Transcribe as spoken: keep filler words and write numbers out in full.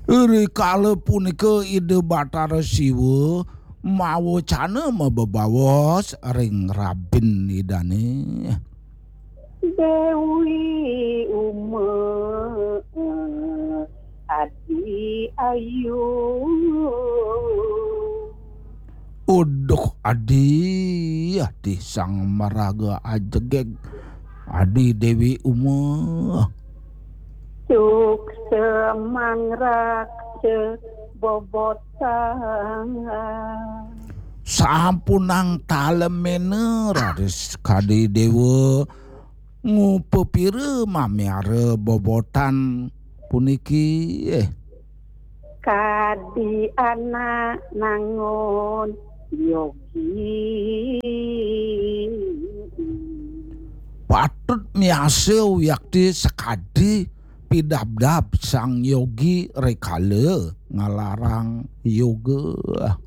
Rikala punika Ida Batara Siwa mawecana mabebaos ring rabin Idane. Dewi Uma, Adi Ayu. Uduh, Adi, Adi sang maraga ajegeg, Adi Dewi Uma. Suksa mangraksa bobotang. Sampunang talemena raris kadi dewa ngupapira mamiara bobotan puniki. Kadi anak nangun yogi. Patut miasa wiakti sakadi pidabdab sang yogi rikala ngalarang yoga.